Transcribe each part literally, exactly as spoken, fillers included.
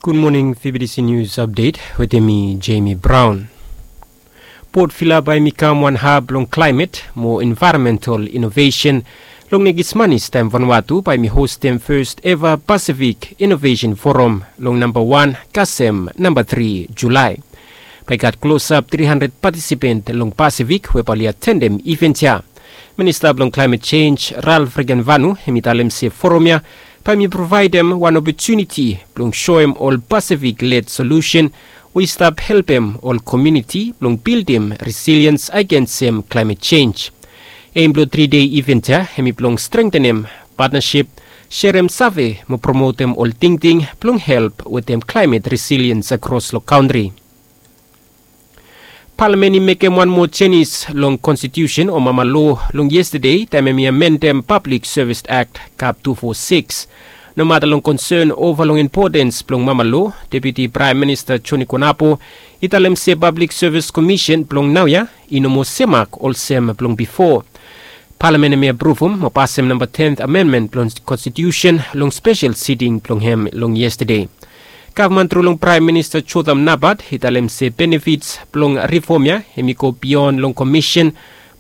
Gud moning, V B T C News Update wetem mi, Jamie Brown. Port Vila bae i kam wan hab long klaemet mo envaeronmental inovesen long nekis manis taem Vanuatu bae i hostem fes eva Pasifik Inovesen Forum long namba wan kasem namba tri Julae. Bae i gat klosap tri handred patisipen long Pasifik we bae oli atendem iven ya. Minista blong Klaemet Jenj, Ralph Regenvanu, hem i talem se foram ya bae i provaedem wan opotuniti blong soem ol Pasifik led solusen we i stap helpem ol komuniti blong bildim resiliens agensem klaemet jenj. Eim blong tri dei iven ya hem i blong strengtenem patnasip, serem save mo promotem ol tingting blong help wetem klaemet resiliens akros long kantri. Palamen i mekem wan moa jenis long konstitiusen o mama loa long yestade taem hem i amendem Pablik Sevis Akt kap tu fo sikis. Nomata long konsen ova long impotens blong mama loa, Deputi Praem Minista Joni Konapo i talem se Pablik Sevis Komisen blong naoia i no moa semak olsem blong bifo. Palamen hem i apruvum mo pasem namba ten amenmen blong konstitiusen long spesel siting blong hem long yestade. Gavman tru long Praem Minista Jotham Napat i talem se benefits blong rifom ya hem i go bion long komisen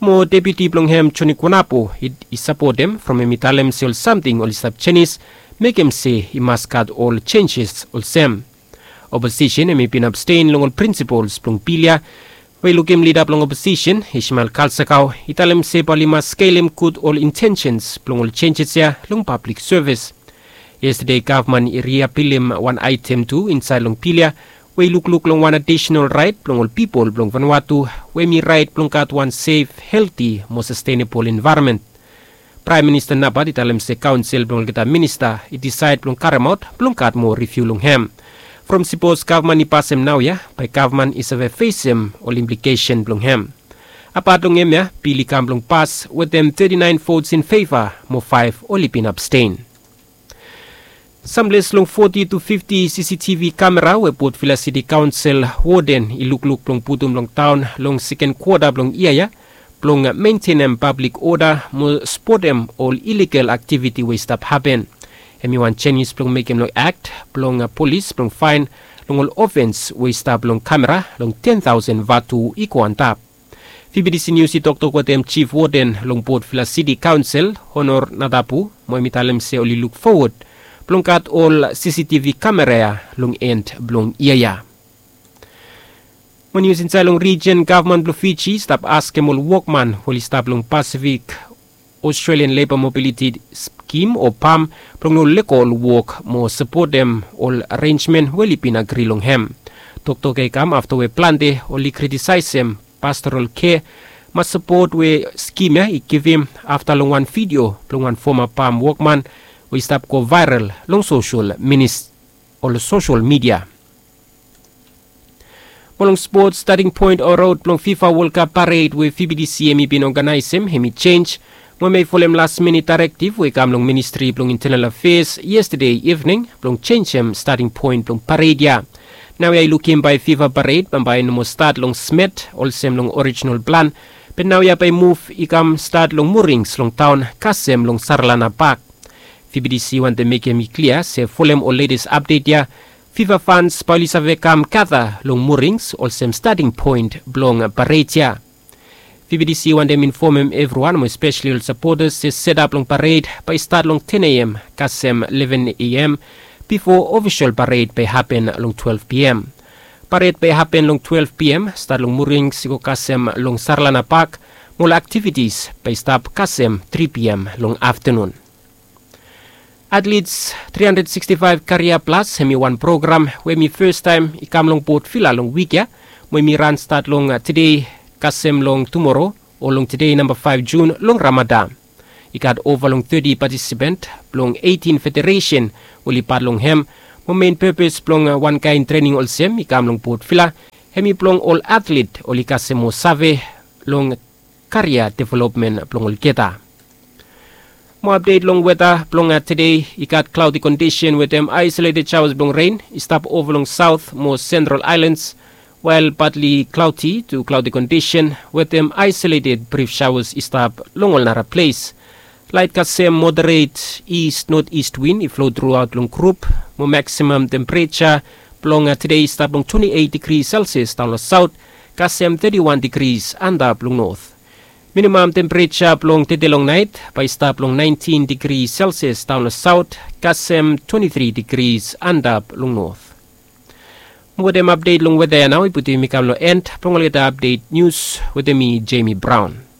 mo deputi blong hem Joni Konapo i, i sapotem from hem i talem se ol samting oli stap jenis mekem se i mas gat ol jenjes olsem. Oposisen hem i bin absten long ol prinsipols blong bil ya, we i lukim lida blong oposisen Ishmael Kalsakau i talem se bae oli mas skelem gud ol intensens blong ol jenjes ya long pablik sevis. Yestade gavman i riapilim wan aetem tu insaed long bil ya we i lukluk long wan adisenal raet blong ol pipol blong Vanuatu we hem i raet blong gat wan sef, helti mo sastenebol envaeronmen. Praem Minista Napat i talem se kaonsel blong olgeta minista i disaed blong karemaot blong gat moa riviu long hem. From sipos gavman i pasem naoia bae gavman i save fesem ol implikesen blong hem. Apat long hemia bil i kam blong pas wetem teti naen vots in feva mo faef oli bin absten. Samples long foti tu fifti CCTV kamera we Port Vila City Council woden i lukluk blong putum long taon long seken kwota blong yia ya blong mentenem pablik oda mo spotem ol iligal aktiviti we i stap hapen. Hem i wan jenis blong mekem long akt blong polis blong faen long ol ofens we i stap long kamera long ten taosen vatu i go antap. VBTC Nius i toktok wetem Jif Woden long Port Vila City Kaonsel, Honor Natapu, mo hem i talem se oli luk fowod blong gat ol CCTV kamera ya long en blong yia ya. Mo nius insaed long rijen, gavman blong Fiji i stap askem ol wokman we oli stap long Pasifik Australian Labour Mobility Scheme o PALM blong no lego ol wok mo sapotem ol arenjmen we oli bin agri long hem. Toktok ya i kam afta we plante oli kritisaesem Pastoral Care mas sapot we skim ya i givim afta long wan vidio blong wan foma PALM wokman we i stap go vaeral long sosel minis, ol sosel midia. Mo long spots, stating point o rod blong FIFA World Cup pared we VBTC hem i bin oganaesem hem i jenj, mo hem i folem las minit daerektiv we i kam long Ministri blong Intenal Afeas yestade ivning blong jenjem stating point blong pared ya. Naoia i lukim bae FIFA pared bambae i no moa stat long Smet olsem long orijinal plan, be naoia bae muv i kam stat long Murings long taon kasem long Saralana Pak. VBTC wantem mekem i klia se folem ol letes apdet ya, FIFA fans bae oli save kam gata long Murings olsem stating point blong pared ya. VBTC wantem infomem evriwan mo espeseli ol sapotas se setap long pared bae i stat long ten AM kasem leven AM bifo ofisol pared bae i hapen long twelve PM. Pared bae i hapen long twelve PM, stat long Murings i go kasem long Saralana Pak, mo ol aktivitis bae i stap kasem tri PM long aftanun. Athletes three hundred sixty-five Career Plus hem i wan program we hem i fastaem i kam long Port Vila long wik ya, mo hem i ran stat long tede kasem long tumoro o long tede namba faef Jun long Ramada. I gat ova long teti patisipen blong eitin federesen we oli pat long hem, mo mein pepes blong wankaen trening olsem i kam long Port Vila hem i blong ol athlet oli kasem moa save long karia developmen blong olgeta. Mo apdet long weta blong tede, i gat klaodi kondisen wetem aesoleted shaoas blong ren i stap ova long saot mo sentral aelans, wael badli klaodi tu klaodi kondisen wetem aesoleted brif shaoas i stap long ol nara ples. Laet kasem moderet ist noteast win i flo truaot long grup Mo maksimam tempereja blong tede i stap long twenti eit digri selsias daon long saot, kasem teti wan digris antap long not. Minimam tempereja blong tede long nait bae i stap long naentin digri selsias daon long saot, kasem twenti tri digris antap long not. Mo wetem apdet long weta ya nao i putum yumi kam long en blong olgeta apdet nius wetem mi, Jemi Braon.